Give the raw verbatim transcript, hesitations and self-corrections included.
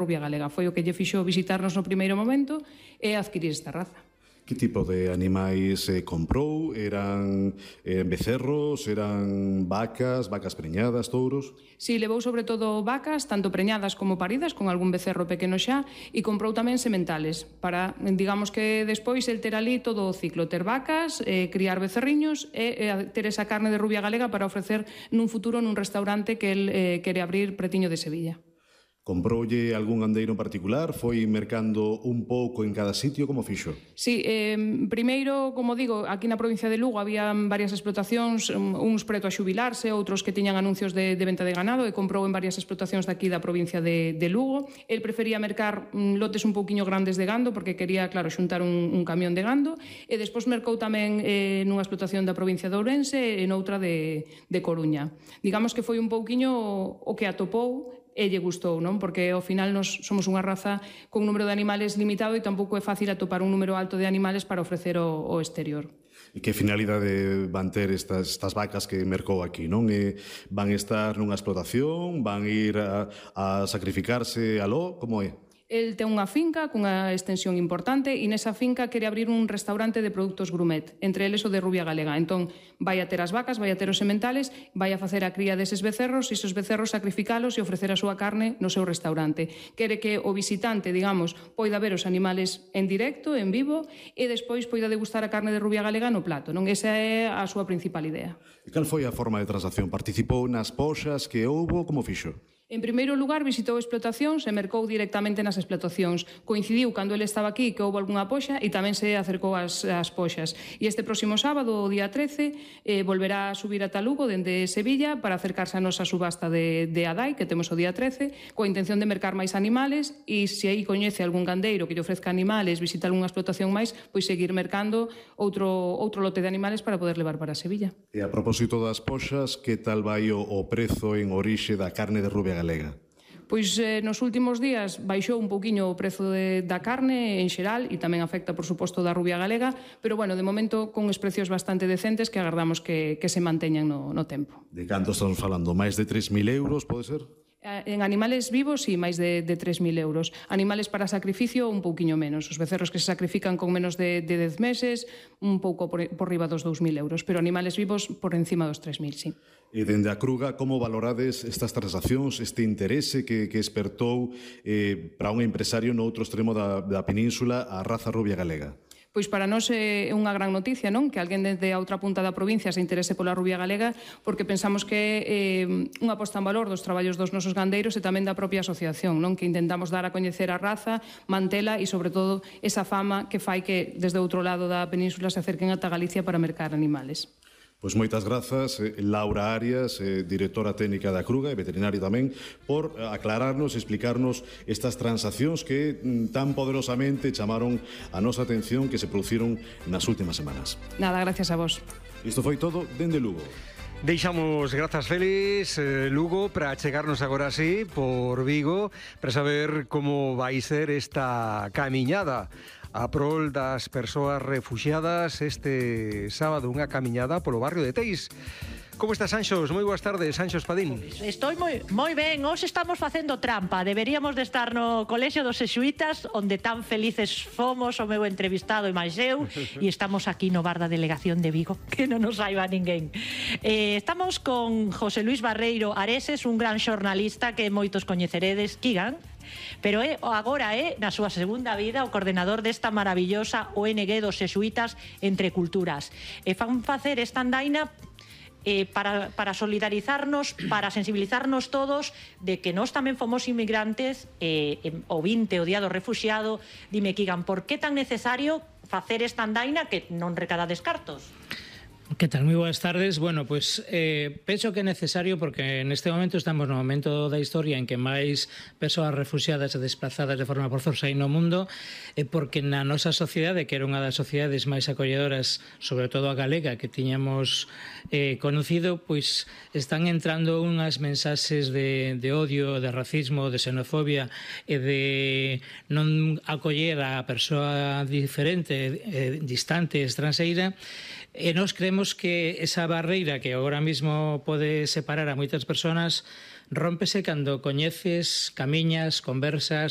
rubia galega. Foi o que lle fixo visitarnos no primeiro momento e adquirir esta raza. Que tipo de animais eh, comprou? Eran eh, becerros, eran vacas, vacas preñadas, touros? Si, levou sobre todo vacas, tanto preñadas como paridas, con algún becerro pequeno xa, e comprou tamén sementales, para, digamos que despois el ter ali todo o ciclo, ter vacas, eh, criar becerriños e eh, ter esa carne de rubia galega para ofrecer nun futuro nun restaurante que el eh, quere abrir pretiño de Sevilla. Comproulle algún gandeiro en particular? Foi mercando un pouco en cada sitio? Como fixo? Sí, eh, primeiro, como digo, aquí na provincia de Lugo había varias explotacións, uns preto a xubilarse, outros que tiñan anuncios de, de venta de ganado, e comprou en varias explotacións daqui da provincia de, de Lugo. El prefería mercar mm, lotes un pouquiño grandes de gando, porque quería, claro, xuntar un, un camión de gando, e despois mercou tamén eh, nunha explotación da provincia de Ourense e noutra de, de Coruña. Digamos que foi un pouquiño o que atopou e lle gustou, non? Porque ao final nos somos unha raza con un número de animales limitado e tampouco é fácil atopar un número alto de animales para ofrecer o, o exterior. E que finalidade van ter estas, estas vacas que mercou aquí, non? E van estar nunha explotación? Van ir a, a sacrificarse aló? Como é? El ten unha finca cunha extensión importante e nesa finca quere abrir un restaurante de produtos grumet, entre eles o de rubia galega. Entón, vai a ter as vacas, vai a ter os sementales, vai a facer a cría deses becerros e esos becerros sacrificalos e ofrecer a súa carne no seu restaurante. Quere que o visitante, digamos, poida ver os animales en directo, en vivo, e despois poida degustar a carne de rubia galega no plato, non? Esa é a súa principal idea. E cal foi a forma de transacción? Participou nas poxas que houbo? Como fixo? En primeiro lugar, visitou explotacións e mercou directamente nas explotacións. Coincidiu cando ele estaba aquí que houve algunha poxa e tamén se acercou ás, ás poxas. E este próximo sábado, o día trece, eh, volverá a subir ata Lugo dende Sevilla para acercarse a nosa subasta de, de Adai, que temos o día trece, coa intención de mercar máis animales e se aí coñece algún gandeiro que lle ofrezca animales, visitar algunha explotación máis, pois seguir mercando outro, outro lote de animales para poder levar para Sevilla. E a propósito das poxas, que tal vai o, o prezo en orixe da carne de rubia galega? Pois eh, nos últimos días baixou un pouquiño o prezo de, da carne en xeral e tamén afecta, por suposto, da rubia galega, pero, bueno, de momento con uns precios bastante decentes que agardamos que, que se manteñan no, no tempo. De canto estamos falando? Máis de tres mil euros, pode ser? En animales vivos, sí, máis de, de tres mil euros. Animales para sacrificio, un pouquiño menos. Os becerros que se sacrifican con menos de, de dez meses, un pouco por, por riba dos dous mil euros. Pero animales vivos por encima dos tres mil, sí. E dende a Cruga, como valorades estas transaccións, este interese que, que espertou eh, para un empresario no outro extremo da, da península a raza rubia galega? Pois para nós é unha gran noticia, non? Que alguén desde a outra punta da provincia se interese pola rubia galega, porque pensamos que é eh, unha posta en valor dos traballos dos nosos gandeiros e tamén da propia asociación, non? Que intentamos dar a coñecer a raza, mantela e, sobre todo, esa fama que fai que desde outro lado da península se acerquen ata Galicia para mercar animales. Pois moitas grazas, Laura Arias, directora técnica da Cruga e veterinaria tamén, por aclararnos e explicarnos estas transaccións que tan poderosamente chamaron a nosa atención que se produciron nas últimas semanas. Nada, gracias a vos. Isto foi todo dende Lugo. Deixamos grazas Félix, eh, Lugo, para chegarnos agora así por Vigo, para saber como vai ser esta camiñada a prol das persoas refuxiadas este sábado, unha camiñada polo barrio de Teis. Como estás, Sanxos? Moi boas tardes, Sanxos Padín. Estou moi, moi ben, hoxe estamos facendo trampa. Deberíamos de estar no colexio dos xesuítas, onde tan felices fomos o meu entrevistado e máis eu, e estamos aquí no bar da delegación de Vigo, que non nos saiba ninguén. Eh, estamos con José Luis Barreiro Areses, un gran xornalista que moitos coñeceredes, Kigan, pero é agora é, na súa segunda vida, o coordenador desta maravillosa O N G dos xesuítas Entre Culturas. E fan facer esta andaina eh, para, para solidarizarnos, para sensibilizarnos todos de que nós tamén fomos inmigrantes, eh, o vinte, o día do refuxiado. Dime, Kigan, por que tan necesario facer esta andaina que non recada descartos? Que tal? Moi boas tardes. Bueno, pois eh, penso que é necesario porque neste momento estamos no momento da historia en que máis persoas refuxiadas e desplazadas de forma forzosa hai no mundo, e porque na nosa sociedade, que era unha das sociedades máis acolledoras, sobre todo a galega, que tiñamos eh, conocido, pois están entrando unhas mensaxes de, de odio, de racismo, de xenofobia e de non acoller a persoa diferente, eh, distante, estranxeira. E nós creemos que esa barreira que agora mesmo pode separar a moitas persoas rómpese cando coñeces, camiñas, conversas